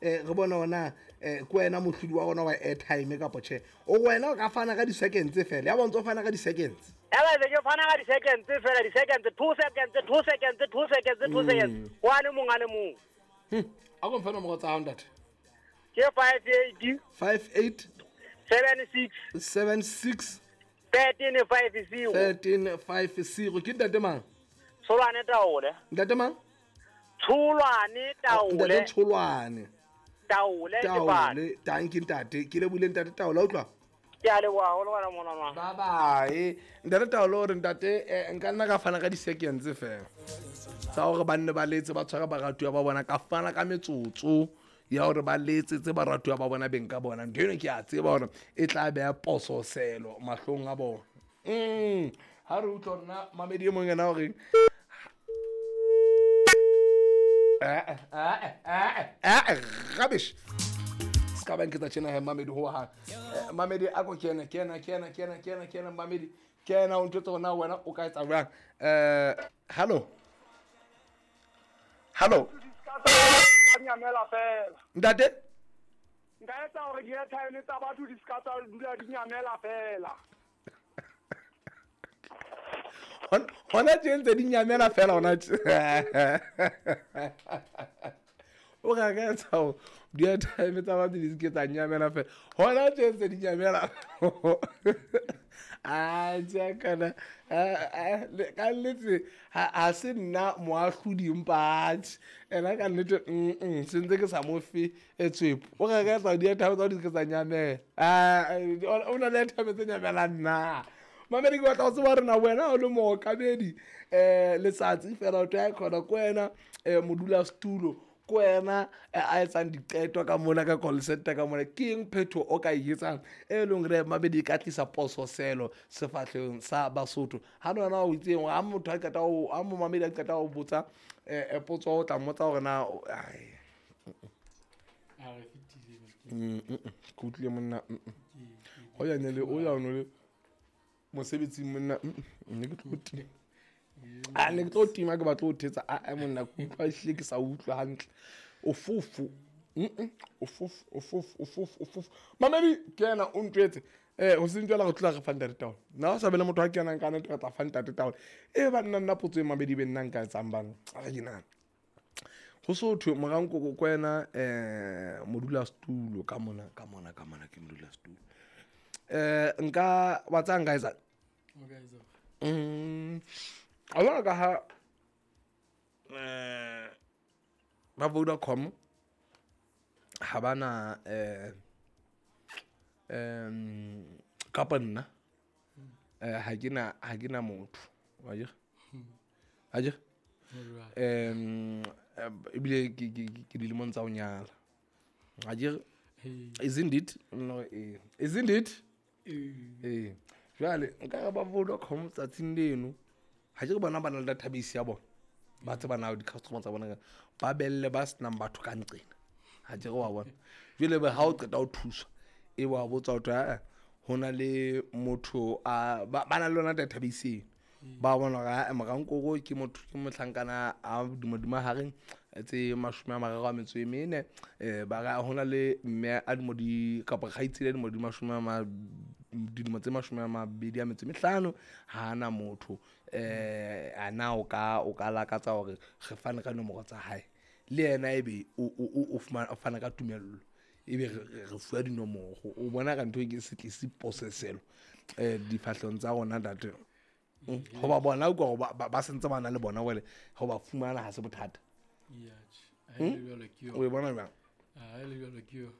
Re bone hore na ke wena mohlodi wa rona wa airtime kapa tjhe. O wena o ka fana ka di-seconds fela, ya bo ntso fana ka di-seconds. Ya ba ke fana ka di-seconds fela, di-seconds, 2 seconds, 2 seconds, 2 seconds, 2 seconds, ho a le mong, a le mong. A ko mfe nomoro tsa hao, ntate. Ke 58 58 76 76 13 50. 13 50. Ke ntate mang? Tsholwane Taole. Ntate mang? Tsholwane Ntate Taole. Tsholwane. Taole ke bana. Taole, tanki ntate, ke lebohile, ntate Taole, a utlwa. Ke a leboha haholo wena mona. Bye bye, ntate Taolo. Hore ntate, nka nna ka fana ka di-seconds fela tsa hore ba nne ba letse, ba tshware baratuwa ba bona. Ka fana ka metsotso ya hore ba letsetse baratuwa ba bona, beng ka bona. Ntho eno ke a tseba hore e tla beha pososelo mahlong a bona. Ha re utlwa hore na mamedi e mong ena horeng. Rubbish, se ka ba nketsa tjena he, mamedi ho hang. Mamedi, a ko kena, kena, kena, kena, kena, kena, mamedi, kena o ntjwetse hore na wena o ka etsa jwang. Hallo, hallo. Nyamela fela. Ntate. Nka etsa hore di-airtime tsa batho di ska tsa dula di nyamela fela. Hona tje ntse di nyamela fela hona tje. O ka ka etsa hore di-airtime tsa batho di se ke tsa nyamela fela hona tje ntse di nyamela. A tjha, kana ka nnete ha se nna moahlodi, empa atjhe, ena ka nnete se ntse ke sa mo fe tswepo. O ka ka etsa hore di-airtime tsa di se ke tsa nyamela. O na le airtime tse nyamelang na? Mamedi, ke batla ho tseba hore na wena o le mookamedi letsatsi fela o tla khona ko wena, modulasetulo ko wena, a etsang diqeto ka mona ka call center ka mona, ke eng phetho o ka e etsang e leng hore mamedi e ka tlisa pososelo sefahlehong sa Basotho? Ha le wena o itseng ha motho a qeta ho, ha momamedi a qeta ho botsa potso, o tla mmotsa hore na ai. A re fetile. Ke utlwile monna. Ho ya ne le o ya no le mosebetsing monna. Ne ke tlo tima, a ne ke tlo tima, ke batla ho thetsa. A monna, ke utlwa ehlile ke sa utlwa hantle. O fofo, o fofo, o fofo, o fofo, o fofo. Mamedi, ke yena o ntjwetse ho seng jwale re tlola re fa ntate taolo. Nna o sa be le motho a kenang ka nnete, re tla fa ntate taolo e ba nna. Nna potso e mamedi be nna nka etsang bana, a re ke nahana ho so thwe morankoko ko wena, modulasetulo ka mona, ka mona, ka mona ke modulasetulo. Nka wa tsaya, nka etsang? O ka etsa. A bona ka ha ba Vodacom ha bana kapa nna ha ke na motho wa jere, ha jere. Ebile ke dilemong tsa ho nyala, ha jere. Isn't it? No, isn't it? Ee, jwale nka re ba Vodacom tsatsing leno, ha ke re bona ba na le database ya bona, ba tseba na di-customer tsa bona, ba belle ba senang batho ka nqena, ha ke re wa bona. Jwale be ha o qeta ho thuswa, e wa botsa ho thwe ae ho na le motho a ba na le yona database eno, ba bona hore ae morankoko ke motho, ke mohlankana a dimo hareng tse 34. Ba ra ho na le mme a dilemo di kapa kgaitsedi a dilemo di mashome a ma dilemo tse 25, ha na motho. A na o ka lakatsa hore re fane ka nomoro tsa hae le yena, ebe o fumana, o fana ka tumello, ebe re fuwa dinomoro? O bona ka ntho e ke se tlise poseselo difahlehong tsa rona, ntate. Hoba bona utlwa hore ba sentse ba na le bona wele ho ba fumana ha se bothata. Ya, tjhe. Ha e le jwalo ke O e yona. bona jwang? Ha e le jwalo ke yona.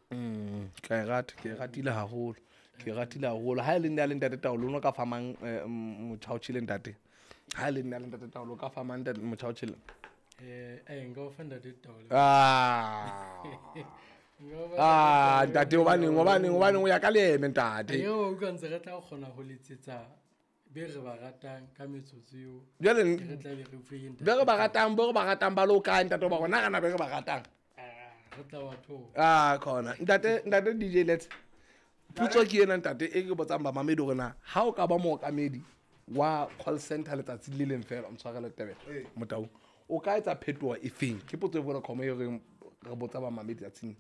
Ka e rata, ke e ratile haholo, ke e ratile haholo. Ha e le nna le ntate Taolo, o no ka fa mang motjha o tjhele, ntate? Ha e le nna le ntate Taolo, o ka fa mang motjha o tjhele? Nka o fa ntate Taolo. Ah. Nka o fa Ah, ntate ntate, Taolo. hobaneng o ya ka leeme, ntate? Eo o utlwa ntse re tla kgona ho letsetsa be re ba ratang ka metsotso eo. Jwale re tla be re utlwe ntate. Be re ba ratang, be re ba ratang ba le hokae, ntate? Ba rona rena be re ba ratang. Ah, re tla wa thola. Ah, khona ntate, ntate DJ Let. Potso ke ena, ntate, e ke botsang bamamedi hore na ha o ka ba mookamedi wa call center letsatsi le leng fela, o ntshwarele tebele motaung, o ka etsa phetoho e feng? Ke potso e Vodacom e reng re botsa bamamedi tsatsing.